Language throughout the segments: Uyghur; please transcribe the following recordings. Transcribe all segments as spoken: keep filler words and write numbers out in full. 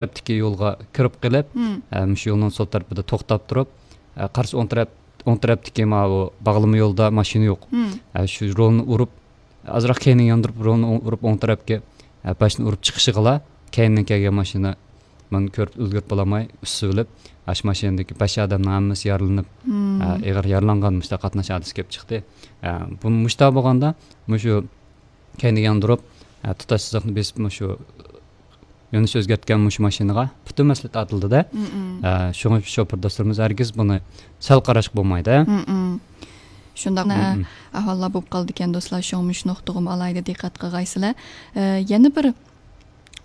تەرەپتىكى يولغا كىرىپ قېلىپ، مم. ئە، مۇشۇ يولنىڭ سول تەرىپىدە توختاپ تۇرۇپ، ئە، قارىسا ئوڭ تەرەپ، ئوڭ تەرەپتىكى ماۋۇ باغلىما يولدا ماشىنا يوق. مم. ئە، شۇ رولنى ئۇرۇپ، ئازراق كەينىگە ياندۇرۇپ، رولنى ئوڭ-، ئۇرۇپ ئوڭ تەرەپكە، ئە، باشنى ئۇرۇپ چىقىشىغىلا، كەينىدىن كەلگەن ماشىنا مانا كۆرۈپ ئۈلگۈرۈپ بولالماي ئۈستىلىپ، ئاشۇ ماشىنىدىكى بەش ئادەمنىڭ ھەممىسى يارىلىنىپ، مم. ئە، ئېغىر يارىلانغان مۇشۇنداق قاتناش ھادىسىسى كېلىپ چىقتى. ئە، بۇ مۇشۇنداق بولغاندا، مۇشۇ كەينىگە ياندۇرۇپ، ئە، تۇتاش سىزىقنى بېسىپ، مۇشۇ يۆنىلىش ئۆزگەرتكەن مۇشۇ ماشىنىغا پۈتۈن مەسئۇلىيەت ئارتىلدى-دە. مم. ئە، شۇڭا شوپۇر دوستلىرىمىز ھەرگىز بۇنى سەل قاراشقا بولمايدۇ. مم. شۇنداق مم. ئەھۋاللار بولۇپ قالىدىكەن، دوستلار. شۇڭا مۇشۇ نۇقتىغىمۇ ئالاھىدە دىققەت قىلغايسىلەر. ئە، يەنە بىر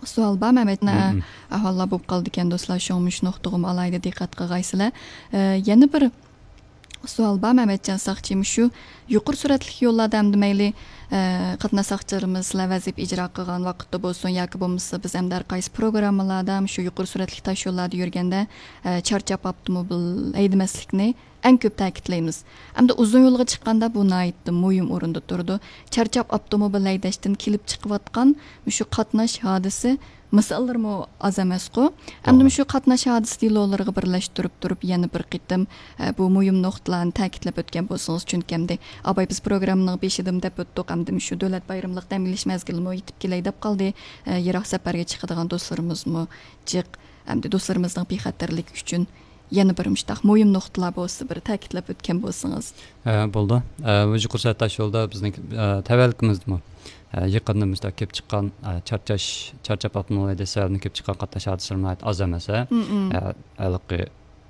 سوئال بار، مەمەت. مم. ئەھۋاللار بولۇپ قالىدىكەن، دوستلار. شۇڭا مۇشۇ نۇقتىغىمۇ ئالاھىدە دىققەت قىلغايسىلەر. ئە، يەنە بىر سوئال بار، مەمەتجان ساقچى. مۇشۇ يۇقىرى سۈرئەتلىك يوللاردا ئەمدى مەيلى، ئە، قاتناش ساقچىلىرىمىز سىلەر ۋەزىپە ئىجرا قىلغان ۋاقىتتا بولسۇن ياكى بولمىسا بىز ئەمدى ھەر قايسى پروگراممىلاردا مۇشۇ يۇقىرى سۈرئەتلىك تاش يوللاردا يۈرگەندە، ئە، چارچاپ ئاپتوموبىل ھەيدىمەسلىكنى ئەڭ كۆپ تەكىتلەيمىز. ئەمدى ئۇزۇن يولغا چىققاندا بۇ ناھايىتى مۇھىم ئورۇندا تۇرىدۇ. چارچاپ ئاپتوموبىل ھەيدەشتىن كېلىپ چىقىۋاتقان مۇشۇ قاتناش ھادىسە مىساللىرىمۇ ئاز ئەمەسقۇ. ئەمدى توغرا. مۇشۇ قاتناش ھادىسە دېلولىرىغا بىرلەشتۈرۈپ تۇرۇپ يەنە بىر قېتىم، ئە، بۇ مۇھىم نۇقتىلارنى تەكىتلەپ ئۆتكەن بولسىڭىز، چۈنكى ئەمدى ئاباي بىز پروگراممىنىڭ بېشىدىمۇ دەپ ئۆتتۇق، ئەمدى مۇشۇ دۆلەت بايرىملىق دەم ئېلىش مەزگىلىمۇ يېتىپ كېلەي دەپ قالدى. ئە، يىراق سەپەرگە چىقىدىغان دوستلىرىمىزمۇ جىق. ئەمدى دوستلىرىمىزنىڭ بىخەتەرلىكى ئۈچۈن يەنە بىر مۇشتاق مۇھىم نۇقتىلار بولسا بىر تەكىتلەپ ئۆتكەن بولسىڭىز. ئە، بولىدۇ. ئە، بۇ يۇقىرى سۈرئەت تاش يولدا بىزنىڭ، ئە، تەۋەلىكىمىزدىمۇ، ئە، يېقىندا مۇشتاق كېلىپ چىققان، ئە، چارچاش، چارچاپ ئاپتوموبىل ھەيدەش سەۋەبىدىن كېلىپ چىققان قاتناش ھادىسىلىرى ناھايىتى ئاز ئەمەس، ھە؟ مم، مم. ئە، ھېلىقى،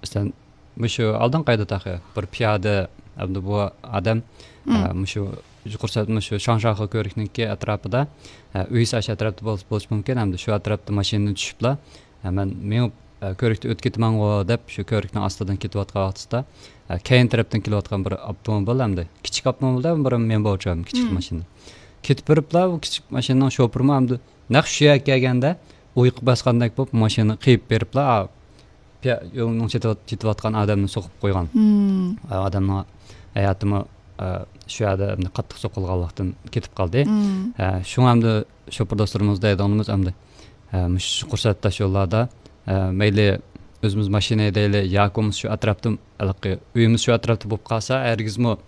مەسىلەن، مۇشۇ ئالدىنقى ئايدا تېخى بىر پىيادە، ئەمدى بۇ ئادەم، ئە، مم. مۇشۇ يۇقىرى سۈرئەت، مۇشۇ شاڭشاخې كۆۋرۈكنىڭكى ئەتراپىدا، ئە، ئۆيىسى ئاشۇ ئەتراپتا بولسا، بولۇشى مۇمكىن، ئەمدى شۇ ئەتراپتا ماشىنىدىن چۈشۈپلا، ئە، مەن مېڭىپ، ئە، كۆۋرۈكتىن ئۆتۈپ كېتىمەنغۇ دەپ، شۇ كۆۋرۈكنىڭ ئاستىدىن كېتىۋاتقان ۋاقتىدا، ئە، كەينى تەرەپتىن كېلىۋاتقان بىر ئاپتوموبىل، ئەمدى كىچىك ئاپتوموبىل، بىر مېنباۋچۇ، كىچىك مم. ماشىنا. كېتىپ بېرىپلا، ئۇ كىچىك ماشىنىنىڭ شوپۇرىمۇ ئەمدى نەق شۇ يەرگە كەلگەندە ئۇيقۇ باسقاندەك بولۇپ، ماشىنا قېيىپ بېرىپلا، ئا، پىيا-، يولنىڭ چېتىۋات-، چېتىۋاتقان ئادەمنى سوقۇپ قويغان. مم. ئا، ئادەمنىڭ ھاياتىمۇ، ئا، شۇ يەردە ئەمدى قاتتىق سوقۇلغانلىقتىن كېتىپ قالدى. مم. ئا، شۇڭا ئەمدى شوپۇر دوستلىرىمىز دەيدىغىنىمىز ئەمدى، ئا، مۇشۇ قۇرسات تاش يوللاردا، ئا، مەيلى ئۆزىمىز ماشىنا ھەيدەيلى ياكى بولمىسا شۇ ئەتراپتا، ھېلىقى ئۆيىمىز شۇ ئەتراپتا بولۇپ قالسا، ھەرگىزمۇ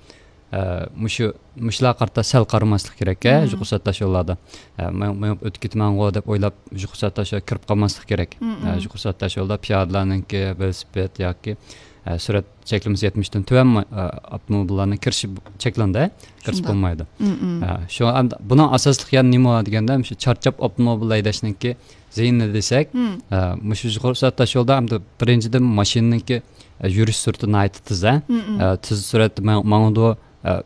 ئە، مۇشۇ، مۇشۇلارغا قارىتا سەل قارىماسلىق كېرەك، ئە، مم. يۇقىرى سۈرئەت تاش يوللاردا. ئە، مېڭ-، مېڭىپ ئۆتۈپ كېتىمەنغۇ دەپ ئويلاپ، يۇقىرى سۈرئەت تاش يولغا كىرىپ قالماسلىق كېرەك. مم، ئە، مم. يۇقىرى سۈرئەت تاش يولدا پىيادىلەرنىڭكى، ۋېلىسىپىت ياكى، ئە، سۈرئەت چەكلىمىسى يەتمىشتىن تۆۋەن ما-، ئە، ئاپتوموبىللارنىڭ كىرىشى بۇ-، چەكلەندى، كىرىپ شۇنداق. بولمايدۇ. مم، مم. ئە، شۇ ئەمدى بۇنىڭ ئاساسلىق يەنە نېمە بار دېگەندە، مۇشۇ چارچاپ ئاپتوموبىل ھەيدەشنىڭكى زىيىنى دېسەك، مم. ئە، مۇشۇ يۇقىرى سۈرئەت تاش يولدا ئەمدى بىرىنچىدىن ماشىنىنىڭكى، ئە، يۈرۈش سۈرئىتى ناھايىتى تېز، ئە. مم، مم. ئە، تېز سۈرئەتتە ماڭ-، ماڭىدۇ. ئە،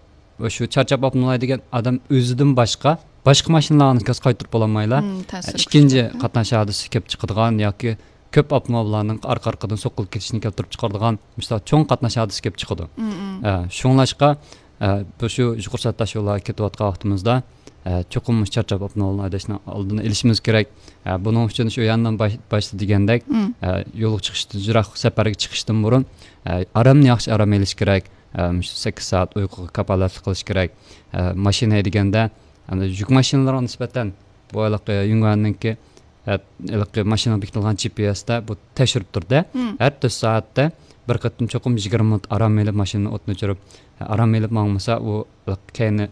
شۇ چارچاپ ئاپتوموبىل ھەيدىگەن ئادەم ئۆزىدىن باشقا، باشقا ماشىنىلارنى كاس قايتۇرۇپ بولالمايلا. مم، تەسىر ئە، ئىككىنچى كۈچلۈك. قاتناش ھادىسىسى كېلىپ چىقىدىغان ياكى كۆپ ئاپتوموبىللارنىڭ ئارقا-ئارقىدىن سوقۇلۇپ كېتىشىنى كەلتۈرۈپ چىقىرىدىغان مۇشۇنداق چوڭ قاتناش ھادىسىسى كېلىپ چىقىدۇ. مم، مم. ئە، شۇڭلاشقا، ئە، بۇ شۇ يۇقىرى سۈرئەت تاش يوللارغا كېتىۋاتقان ۋاقتىمىزدا، ئە، چوقۇم مۇشۇ چارچاپ ئاپتوموبىل ھەيدەشنىڭ ئالدىنى ئېلىشىمىز كېرەك. ئە، بۇنىڭ ئۈچۈن شۇ ياندىن باش-، باشتا دېگەندەك، مم. ئە، يولغا چىقىشتىن، يىراق سەپەرگە چىقىشتىن بۇرۇن، ئە، ئارامنى ياخشى ئارام ئېلىش كېرەك. ئە، مۇشۇ سەككىز سائەت ئۇيقۇغا كاپالەتلىك قىلىش كېرەك. ئە، ماشىنا ھەيدىگەندە، ئەمدى يۈك ماشىنىلىرىغا نىسبەتەن بۇ ھېلىقى يۇڭگۇەننىڭكى، ئە، ھېلىقى ماشىنىغا بېكىتىلغان جى پى ئېستا بۇ تەكشۈرۈپ تۇرىدۇ. مم. ھەر تۆت سائەتتە بىر قېتىم چوقۇم يىگىرمە مىنۇت ئارام ئېلىپ، ماشىنىنى ئوتتىن ئۆچۈرۈپ، ئارام ئېلىپ ماڭمىسا، ئۇ كەينى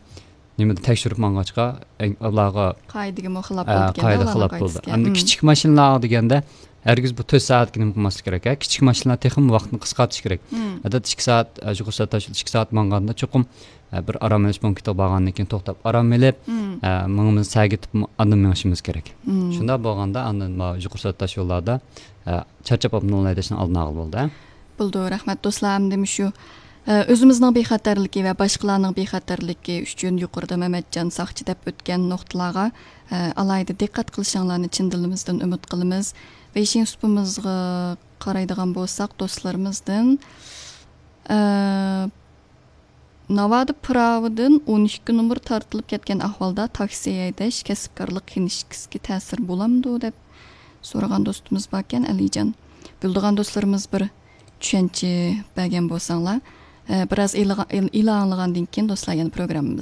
نېمىدە تەكشۈرۈپ ماڭغاچقا، ئەڭ ئۇلارغا، قائىدىگىمۇ خىلاپ ئە، بولىدىكەن، قائىدە ئۇلارنىڭ خىلاپ بولىدۇ. قائىدىسىگە. ئەمدى مم. كىچىك ماشىنىلارغا دېگەندە، ھەرگىز بۇ تۆت سائەتكە نېمە قىلماسلىق كېرەك، ھە؟ كىچىك ماشىنىلار تېخىمۇ ۋاقىتنى قىسقارتىش كېرەك. مم. ئادەتتە ئىككى سائەت، ئە، يۇقىرى سۈرئەت تاش يولدا ئىككى سائەت ماڭغاندا چوقۇم، ئە، بىر ئارام ئېلىش پونكىتىغا بارغاندىن كېيىن توختاپ ئارام ئېلىپ، مم. ئە، مېڭىمىزنى سەگىتىپ ئاندىن مېڭىشىمىز كېرەك. مم. شۇنداق بولغاندا ئاندىن ما-، يۇقىرى سۈرئەت تاش يوللاردا، ئە، چارچاپ ئاپتوموبىل ھەيدەشنى ئالدىنى ئالغىلى بولىدۇ، ھە؟ بولىدۇ، رەھمەت دوستلار. ئەمدى مۇشۇ، ئە، ئۆزىمىزنىڭ بىخەتەرلىكى ۋە باشقىلارنىڭ بىخەتەرلىكى ئۈچۈن يۇقىرىدا مەمەتجان ساقچى دەپ ئۆتكەن نۇقتىلارغا، ئە، ئالاھىدە دىققەت قىلىشىڭلارنى چىن دىلىمىزدىن ئۈمىد قىلىمىز. ۋېيشىن سۇپىمىزغا قارايدىغان بولساق، دوستلىرىمىزدىن، ئە، ناۋادا پىراۋىدىن ئون ئىككى نومۇر تارتىلىپ كەتكەن ئەھۋالدا تاكسى ھەيدەش كەسىپكارلىق كىنىشكىسىگە تەسىر بولامدۇ دەپ سورىغان دوستىمىز باركەن، ئەلىجان. بىلىدىغان دوستلىرىمىز بىر چۈشەنچە بەرگەن بولساڭلار. ئە، بىراز ئېلىغا-، ئېل-، ئېلان ئاڭلىغاندىن كېيىن دوستلار يەنە پروگراممىمىز